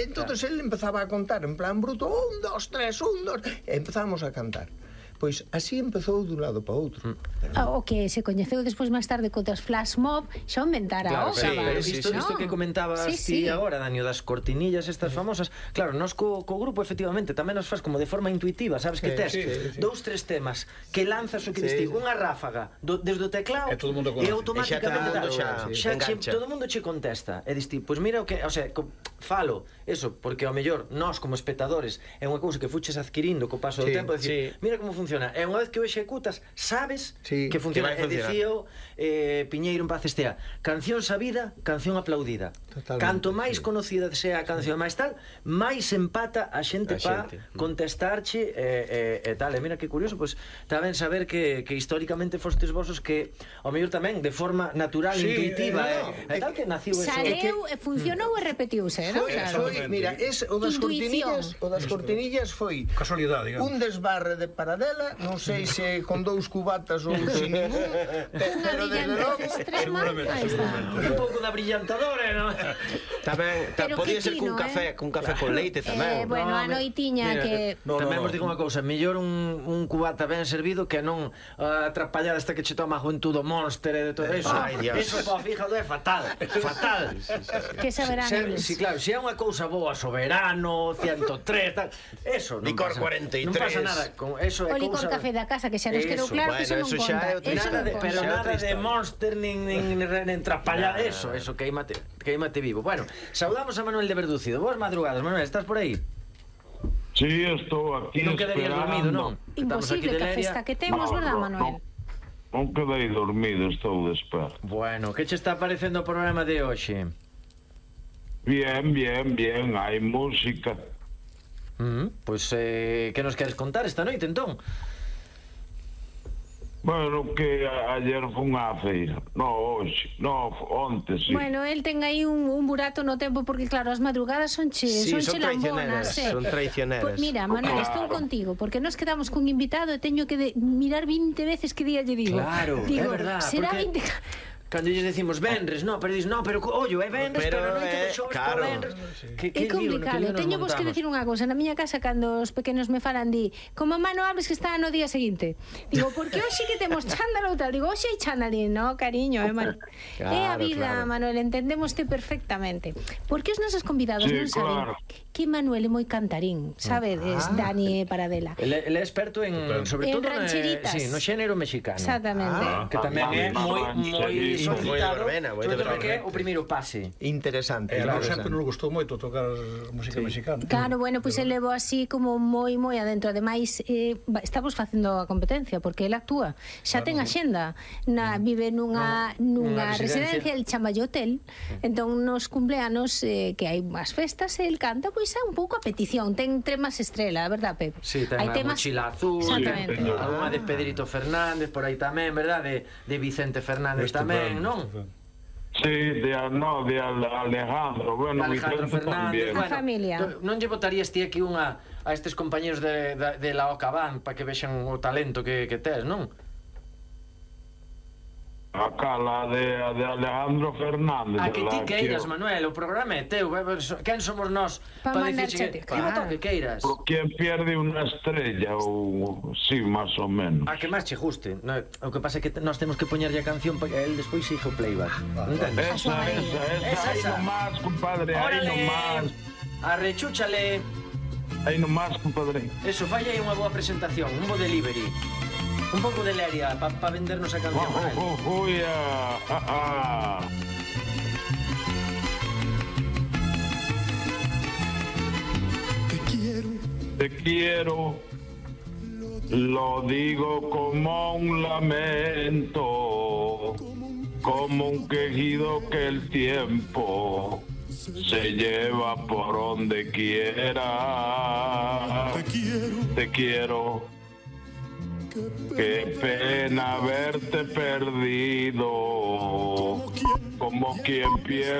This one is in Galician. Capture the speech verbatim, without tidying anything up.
entonces él empezaba a contar en plan bruto, un, dos, tres, un, dos, e empezamos a cantar. Pois así empezou dun lado para outro. O que se coñeceu despois máis tarde contas flash mob, xa inventara a outra. Pero isto que comentabas ti agora, Dani, das cortinillas estas famosas, claro, nos co grupo efectivamente tamén nos faz como de forma intuitiva, sabes que tes dous, tres temas que lanzas o que dis ti, unha ráfaga desde o teclado e automáticamente todo o mundo che contesta e dis ti, pois mira o que, o sea, falo eso, porque ao mellor nós como espectadores é unha cousa que fuches adquirindo co paso do tempo, dicir, mira como funciona, e unha vez que o executas sabes que funciona. E dicío Piñeiro en paz estea, canción sabida, canción aplaudida. Canto máis conocida sea a canción máis tal, máis empata a xente pa contestarche e tal. E mira que curioso, pois tamén saber que históricamente fostes vosos que ao mellor tamén de forma natural, intuitiva e tal que naciu eso. Saleu, funcionou e repetiuse, non? Foi, mira, o das cortinillas o das cortinillas foi un desbarre de Paradela, non sei se con dous cubatas ou sin ningún, pero desde logo un pouco da brillantadora, non? Tamén, podía ser cun café con café con leite tamén. Bueno, a noitiña que... Tamén vos digo unha cousa, mellor un cubata ben servido que non a trapallada esta que che toma a juventude Monster e de todo eso. Eso, pa, fíjate, é fatal, fatal. Que saberán eles. Si, claro, se é unha cousa boa, Soberano, ciento tres, tal, eso non pasa. Licor cuarenta e tres. Non pasa nada con eso. O licor café da casa, que xa nos quedou claro que eso non conta. Pero nada de Monster, nin trapallada, eso, eso, queimate vivo. Bueno, saudamos a Manuel de Verdúcido. Boas madrugadas, Manuel, estás por aí? Sí, estou aquí esperando. Non quedarías dormido, non? Imposible, que a festa que temos, verdad, Manuel? Non quedei dormido, estou de espera. Bueno, que che está parecendo o programa de hoxe? Bien, bien, bien, hai música. Pois, que nos queres contar esta noite, entón? Bueno, que ayer foi unha feira. No, hoxe, no, onte, sí. Bueno, el ten aí un burato no tempo porque, claro, as madrugadas son che lambonas. Son traicioneras. Mira, Manuel, estou contigo, porque nos quedamos cun invitado e teño que mirar vinte veces que día lle digo. Claro, é verdad. Será vinte... Cando lles decimos venres, no, pero dis, no, pero ollo, é venres, pero non te xoves por venres. É complicado, teño vos que decir unha cousa. Na miña casa, cando os pequenos me falan, di, como mano abres que está no día seguinte. Digo, porque hoxe que temos chándalo ou tal? Digo, hoxe hai chándalo, no, cariño, é a vida, Manuel, entendemoste perfectamente. Porque os nosos convidados non saben que Manuel é moi cantarín, sabedes, Dani Paradela. Ele é experto en, sobre todo, no xénero mexicano. Exactamente. Que tamén é moi solicitado, sobre todo que é o primeiro pase. Interesante. A nós sempre nos gustou moito tocar música mexicana. Claro, bueno, pois ele levou así como moi, moi adentro. Ademais, estamos facendo a competencia, porque ele actúa. Xa ten axenda. Vive nunha residencia, el chama hotel. Entón, nos cumpleanos que hai unhas festas, el canta, pois é un pouco a petición. Ten temas estrela, a verdad, Pepe? Sí, ten a Mochila Azul, unha de Pedrito Fernández, por aí tamén, verdad? De Vicente Fernández tamén. Non? Sí, de, no, de Alejandro, bueno, Alejandro Fernández, a familia. Non lle botarías ti aquí unha a estes compañeros de, de, de la Ocabán para que vexan o talento que, que tes, non? Acá, la de, de Alejandro Fernández. A que ti queiras, Manuel, o programa é teu. Quen somos nós para dicir que voto que queiras? Por quen pierde unha estrella, ou sí, máis ou menos. A que máis che guste. O que pasa é que nós temos que poñerlle a canción para que el despois siga o playback. Esa, esa, esa, aí nomás, compadre, aí nomás. Arrechúchale. Aí nomás, compadre. Eso, falla aí unha boa presentación, un bo delivery. Un pouco de leria para pa vendernos a canción. Oh, oh, oh, yeah. ah, ah. Te quiero. Te quiero. Lo digo como un lamento, como un quejido que el tiempo se lleva por donde quiera. Te quiero. Te quiero. Qué pena haberte perdido, como quien pierde.